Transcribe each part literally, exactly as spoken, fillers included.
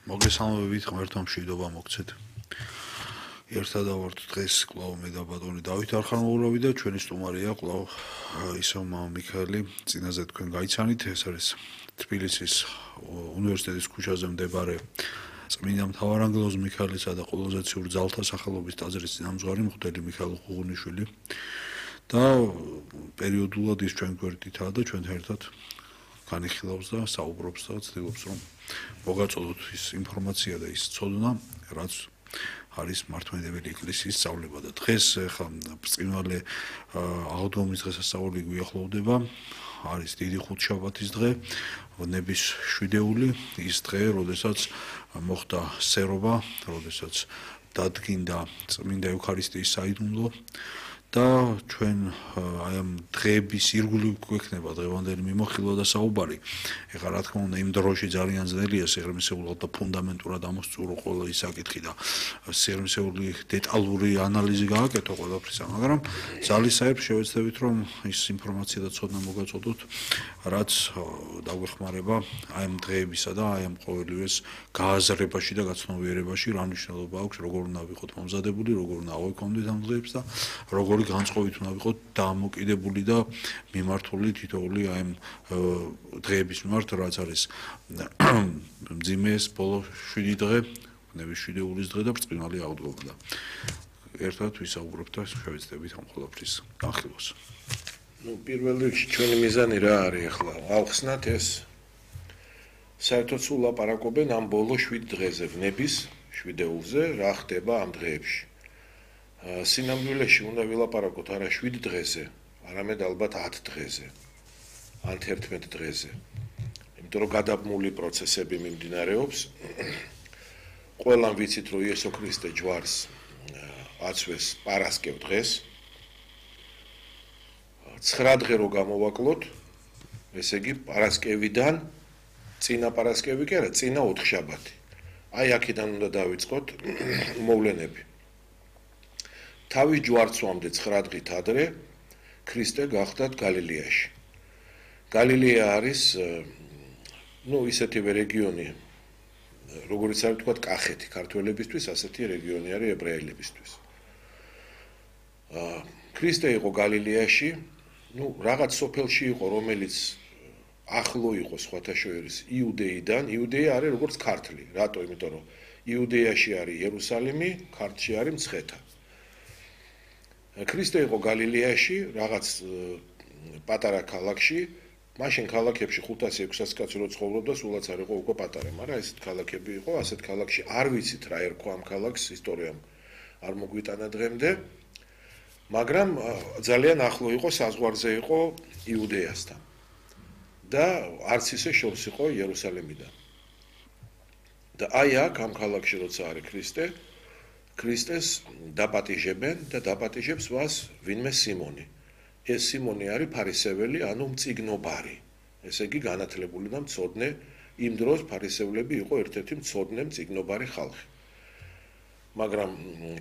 მოგესალმებით, ღმერთმა მშვიდობა მოგცეთ. ერთად ავართ დღეს კვლავ მე და ბატონი დავით არხამოვურავი და ჩვენი სტუმარია კვლავ ისო მამა მიქაელი. წინაზე თქვენ გაიცანით, ეს არის თბილისის უნივერსიტეტის ქუჩაზე მდებარე წმინდა მთავარანგელოზ მიქაელისა და ყოლოზაციურ ძალთა სახელობის ტაძრის წინამძღვარი მღვდელი მიხეილ ღუღუნიშვილი და პერიოდულად ის ჩვენ გვერდითაა და ჩვენთან ერთად განიხილავს და საუბრობს და ცდილობს რომ მოგაწოდოთ ის ინფორმაცია და ის ცოდნა, რაც არის მართლმადიდებელი ეკლესიის სწავლება და დღეს ხა ბრწყინვალე აღდგომის დღესასწაული გვიახლოვდება. არის დიდი ხუთშაბათის დღე, ნების შვიდეული, ის დღე, როდესაც მოხდა სერობა, როდესაც დადგინდა წმინდა ევქარისტიის საიდუმლო და ჩვენ აი ამ დღეების ირგვლივ გვექნება დღევანდელი მიმოხილვა და საუბარი. ეხლა რა თქმა უნდა იმ დროში ძალიან ძნელია სიღრმისეულად და ფუნდამენტურად ამოსწურო ყველა ის საკითხი და სიღრმისეული დეტალური ანალიზი გააკეთო ყველაფრისა, მაგრამ ძალისაერբ შევეცდებით რომ ის ინფორმაცია და ცოდნა მოგაწოდოთ, რაც დაგვეხმარება აი ამ დღეებისა და აი ამ ყოველივეს გააზრებაში და გაცნობიერებაში, რა მნიშვნელობა აქვს, როგორ უნდა ვიყოთ მომზადებული, როგორ უნდა ავექონდეთ ამ დღეებს და როგორ განწყობით უნდა ვიყოთ დამოკიდებული და მიმართული თითოეული აი ამ დღეების მიმართ, რაც არის მძიმეს ბოლო შვიდი დღე, ნების შვიდეულის დღე და ბრწყინვალე აღდგომა და ერთად ვისაუბრებთ და შევეცდებით ამ ყველაფრის განხილვას. Ну, პირველ რიგში ჩვენი მიზანი რა არის ახლა? ავხსნათ ეს საერთოდ სულ ლაპარაკობენ ამ ბოლო შვიდ დღეზე, ნების შვიდეულზე, რა ხდება ამ დღეებში. სინამდვილეში უნდა ვილაპარაკოთ არა შვიდ დღეზე, არამედ ალბათ ათ დღეზე, ან თერთმეტ დღეზე. იმიტომ რომ გადაბმული პროცესები მიმდინარეობს. ყველამ ვიცით, რომ იესო ქრისტე ჯვარს აცვეს პარასკევ დღეს. ცხრა დღე რო გამოვაკლოთ, ესე იგი პარასკევიდან წინა პარასკევი კი არა, წინა ოთხშაბათი. აი აქედან უნდა დავიწყოთ მოვლენები. თავის ჯვარცვამდე ცხრა დღით ადრე ქრისტე გახდათ გალილეაში. გალილეა არის ну ისეთივე რეგიონი, როგორც არის თქვა კახეთი ქართველებისთვის, ასეთი რეგიონი არის ებრაელებისთვის. ქრისტე იყო გალილეაში, ну რაღაც სოფელში იყო, რომელიც ახლო იყო სხვათა შორის იუდეიდან. იუდეა არის როგორც ქართლი. რატო? იმიტომ რომ იუდეაში არის იერუსალიმი, ქართლში არის მცხეთა. ქრისტე იყო გალილეაში, რაღაც პატარა ქალაქში, მაშინ ქალაქებში ხუთასი ექვსასი კაცი რო ცხოვრობდა, სულაც არ იყო უკვე პატარა, მაგრამ ესეთ ქალაქები იყო, ასეთ ქალაქში არ ვიცით რა ერქვა ამ ქალაქს, ისტორიამ არ მოგვიტანა დღემდე, მაგრამ ძალიან ახლო იყო, საზღვარზე იყო იუდეასთან. და არც ისე შორს იყო იერუსალიმიდან. და აი აქ ამ ქალაქში როცა არის ქრისტე, ქრისტეს დაპატიჟებენ და დაპატიჟებს მას ვინმე სიმონი. ეს სიმონი არის ფარისეველი, ანუ მწიგნობარი. ესე იგი განათლებული და მცოდნე, იმ დროს ფარისევლები იყო ერთ-ერთი მცოდნე მწიგნობარი ხალხი. მაგრამ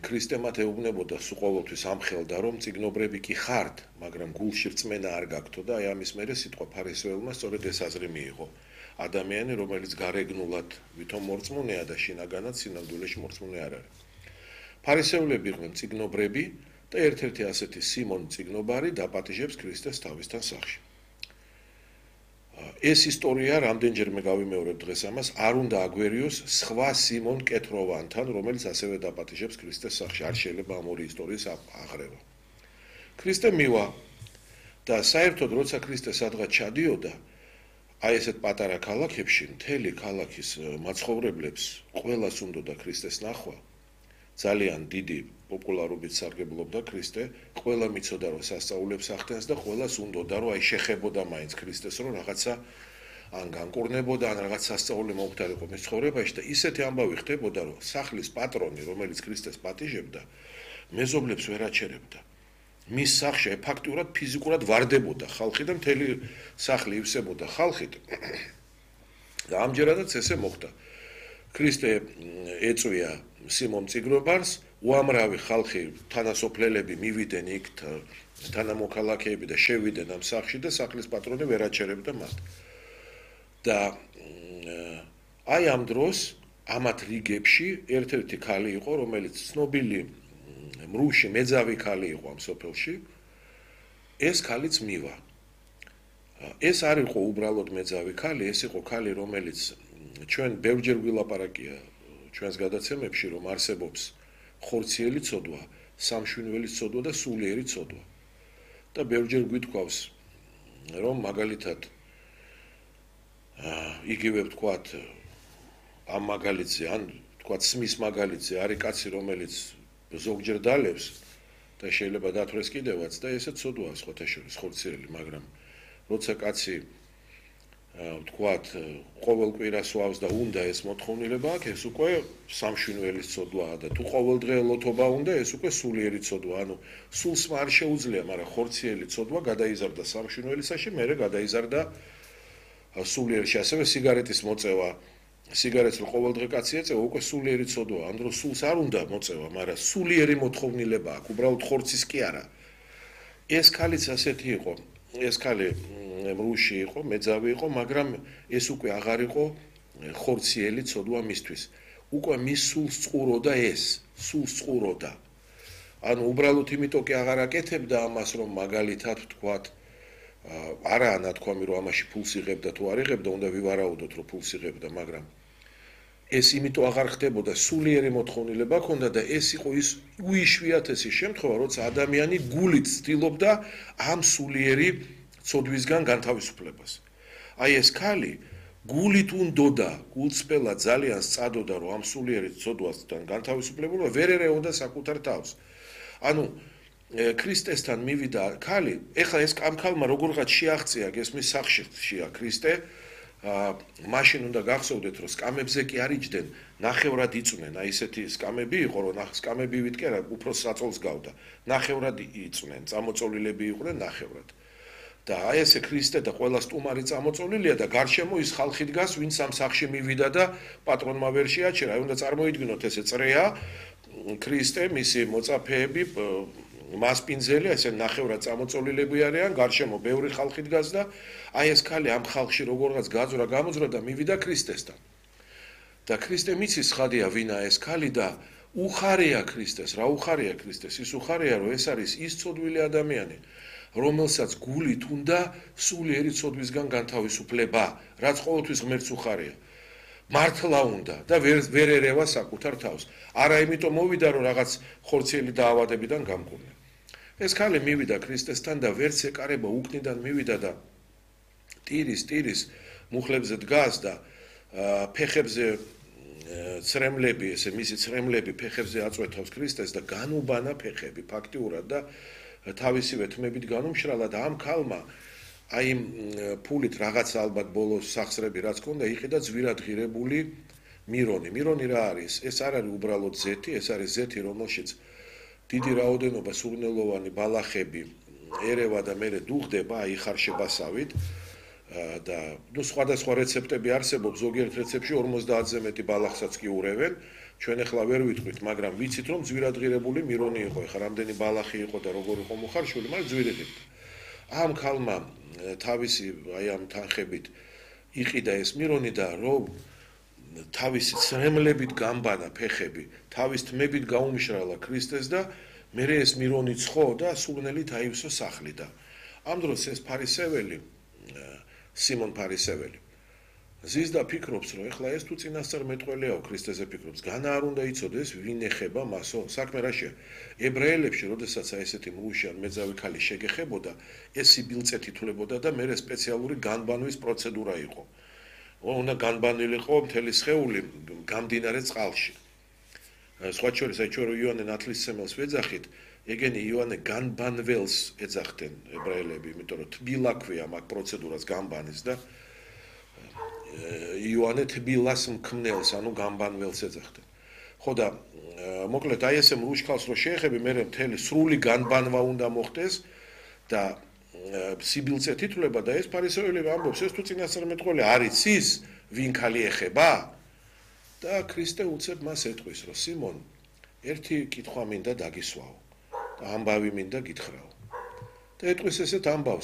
ქრისტე მათ ეუბნებოდა სულ ამხელდა რომ მწიგნობრები კი ხართ, მაგრამ გულში რწმენა არ გაქვთ და აი ამის მერე სიტყვა ფარისეველმა სწორედ ეს აზრი მიიღო. ადამიანი, რომელიც გარეგნულად ვითომ მორწმუნეა და შინაგანად სინამდვილეში მორწმუნე არ არის. ფარისევლები იყვნენ მწიგნობრები და ერთ-ერთი ასეთი სიმონ მწიგნობარი დაპატიჟებს ქრისტეს თავისთან სახში. ეს ისტორია რამდენჯერმე გავიმეორებ დღეს ამას, არ უნდა აგვერიოს სხვა სიმონ კეთროვანთან, რომელიც ასევე დაპატიჟებს ქრისტეს სახში. არ შეიძლება ამ ორი ისტორიის აღრევა. ქრისტე მივა და საერთოდ როცა ქრისტე სადღაც ჩადიოდა, აი ესეთ პატარა ქალაქებში, მთელი ქალაქის მაცხოვრებლებს ყველას უნდოდა ქრისტეს ნახვა. ძალიან დიდი პოპულარობით სარგებლობდა ქრისტე, ყველა მიცოდა რომ სასწაულებს ახდენს და ყველას უნდოდა რომ აი შეხებოდა მაინც ქრისტეს რომ რაღაცა ან განკურნებოდა ან რაღაც სასწაული მოუხდარიყო მის ცხოვრებაში და ისეთი ამბავი ხდებოდა რომ სახლის პატრონი რომელიც ქრისტეს პატიჟებდა მეზობლებს ვერ აჩერებდა. მის სახში ფაქტურად ფიზიკურად ვარდებოდა ხალხი და მთელი სახლი ივსებოდა ხალხით და ამჯერადაც ესე მოხდა. ქრისტე ეწვია სიმონ მწიგნობარს, უამრავი ხალხი თანასოფლელები მივიდნენ იქ თანამოქალაქეები და შევიდნენ ამ სახლში და სახლის პატრონი ვერ აჩერებდა მათ. და აი ამ დროს ამათ რიგებში ერთ-ერთი ქალი იყო, რომელიც ცნობილი მრუში მეძავი ქალი იყო ამ სოფელში. ეს ქალიც მივა. ეს არ იყო უბრალოდ მეძავი ქალი, ეს იყო ქალი, რომელიც ჩვენ ბევრჯერ ვილაპარაკია ჩვენს გადაცემებში, რომ არსებობს ხორციელი ცოდვა, სამშვინველი ცოდვა და სულიერი ცოდვა. და ბევრჯერ გვითქვავს, რომ მაგალითად იგივე ვთქვათ ამ მაგალითზე, ან ვთქვათ სმის მაგალითზე არის კაცი, რომელიც ზოგჯერ დალევს და შეიძლება დათვრეს კიდევაც და ესეც ცოდვაა სხვათა შორის ხორციელი, მაგრამ როცა კაცი ვთქვათ ყოველ კვირას ვავს და უნდა ეს მოთხოვნილება აქვს, ეს უკვე სამშვინველის ცოდვაა და თუ ყოველდღე ლოთობა უნდა, ეს უკვე სულიერი ცოდვა. ანუ სულს არ შეუძლია, მაგრამ ხორციელი ცოდვა გადაიზარდა სამშვინველისაში, მერე გადაიზარდა სულიერში. ასევე სიგარეტის მოწევა, სიგარეტს რო ყოველდღე კაცი ეწევა, უკვე სულიერი ცოდვაა. ამ დროს სულს არ უნდა მოწევა, მაგრამ სულიერი მოთხოვნილება აქვს, უბრალოდ ხორცის კი არა. ეს ქალიც ასეთი იყო. ეს ქალი მრუში იყო, მეძავი იყო, მაგრამ ეს უკვე აღარ იყო ხორციელი ცოდვა მისთვის. უკვე მის სულს წყუროდა ეს, სულს წყუროდა. ანუ უბრალოდ იმიტომ კი აღარ აკეთებდა ამას, რომ მაგალითად ვთქვათ, არაა ნათქვამი, რომ ამაში ფულს იღებდა თუ არ იღებდა, უნდა ვივარაუდოთ, რომ ფულს იღებდა, მაგრამ ეს იმიტომ აღარ ხდებოდა, სულიერი მოთხოვნილება ჰქონდა და ეს იყო ის უიშვიათესი შემთხვევა, როცა ადამიანი გულით ცდილობდა ამ სულიერი ცოდვისგან განთავისუფლებას. აი ეს ქალი გულით უნდოდა, გულწრფელად ძალიან სწადოდა, რომ ამ სულიერი ცოდვასთან განთავისუფლება ვერ ერეოდა საკუთარ თავს. ანუ ქრისტესთან მივიდა ქალი, ეხლა ეს ამ ქალმა როგორღაც შეაღწია გესმის სახშია ქრისტე, მაშინ უნდა გახსოვდეთ, რომ სკამებზე კი არ იჯდნენ, ნახევრად იწვნენ, აი ესეთი სკამები იყო, რომ სკამები ვიტკე რა, უფრო საწოლს გავდა. ნახევრად იწვნენ, წამოწოლილები იყვნენ ნახევრად. და აი ესე ქრისტე და ყველა სტუმარი წამოწოლილია და გარშემო ის ხალხი დგას, ვინც ამ სახში მივიდა და პატრონმა ვერ შეაჩერა. აი უნდა წარმოიდგინოთ ესე წრეა, ქრისტე, მისი მოწაფეები, მასპინძელი, ესე ნახევრად წამოწოლილები არიან, გარშემო ბევრი ხალხი დგას და აი ეს ქალი ამ ხალხში როგორღაც გაძვრა, გამოძვრა და მივიდა ქრისტესთან. და ქრისტე მიცის ხადია ვინა ეს ქალი და უხარია ქრისტეს, რა უხარია ქრისტეს? ის უხარია, რომ ეს არის ის ცოდვილი ადამიანი, რომელსაც გულით უნდა სულიერი ცოდვისგან განთავისუფლება, რაც ყოველთვის ღმერთს უხარია. მართლა უნდა და ვერ ვერ ერევა საკუთარ თავს. არა იმიტომ მოვიდა, რომ რაღაც ხორციელი დაავადებიდან გამკურნა. ეს ქალი მივიდა ქრისტესთან და ვერც ეკარება, უკნიდან მივიდა და ტირის ტირის მუხლებზე დგას და ფეხებზე ცრემლები, ესე მისი ცრემლები ფეხებზე აწვეთავს ქრისტეს და განუბანა ფეხები ფაქტიურად და თავისივე თმებით განუმშრალა და ამ ქალმა აი იმ ფულით რაღაც ალბათ ბოლოს სახსრები რაც ქონდა, იყიდა ძვირადღირებული მირონი. მირონი რა არის? ეს არ არის უბრალოდ ზეთი, ეს არის ზეთი, რომელშიც დიდი რაოდენობა სურნელოვანი ბალახები ერევა და მერე დუღდება, აი ხარშებასავით და ნუ სხვადასხვა რეცეპტები არსებობს, ზოგიერთ რეცეპტში ორმოცდაათზე მეტი ბალახსაც კი ურევენ. ჩვენ ახლა ვერ ვიტყვით, მაგრამ ვიცით, რომ ძვირადღირებული მირონი იყო. ეხლა რამდენი ბალახი იყო და როგორ იყო მოხარშული, მაგრამ ძვირადღირებული. ამ ქალმა თავისი აი ამ თანხებით იყიდა ეს მირონი და რომ თავისი ცრემლებით გამბანა ფეხები, თავის თმებით გაუმშრალა ქრისტეს და მერე ეს მირონი ცხო და სურნელით აივსო სახლი და ამ დროს ეს ფარისეველი, სიმონ ფარისეველი ზის და ფიქრობს, რომ ეხლა ეს თუ წინასწარ მეტყველიაო ქრისტეზე ფიქრობს, განა არ უნდა იცოდეს ვინ ეხება მასო, საქმე რაშია. ებრაელებში, როდესაც აი ესეთი მრუში ან მეძავი ქალი შეგეხებოდა, ეს სიბილწეთ ითვლებოდა და მერე სპეციალური განბანვის პროცედურა იყო. უნდა განბანილიყო მთელი სხეული გამდინარე წყალში. სხვა შორის, აი ჩვენ იოანე ნათლისმცემელს ვეძახით, ეგენი იოანე განბანველს ეძახდნენ ებრაელები, იმიტომ რომ თბილა ქვია მაგ პროცედურას განბანის და იოანე თბილას მქმნელს, ანუ განბანველს ეძახდნენ. ხო და მოკლედ აი ესე მრუშქალს რო შეეხები, მერე მთელი სრული განბანვა უნდა მოხდეს და სიბილწეთ ითვლება და ეს ფარისეველი ამბობს, ეს თუ წინასწარ მეტყველია არ იცის ვინ ქალი ეხება? და ქრისტე უცებ მას ეტყვის, რომ სიმონ, ერთი კითხვა მინდა დაგისვაო და ამბავი მინდა გითხრაო. და ეტყვის ესეთ ამბავს,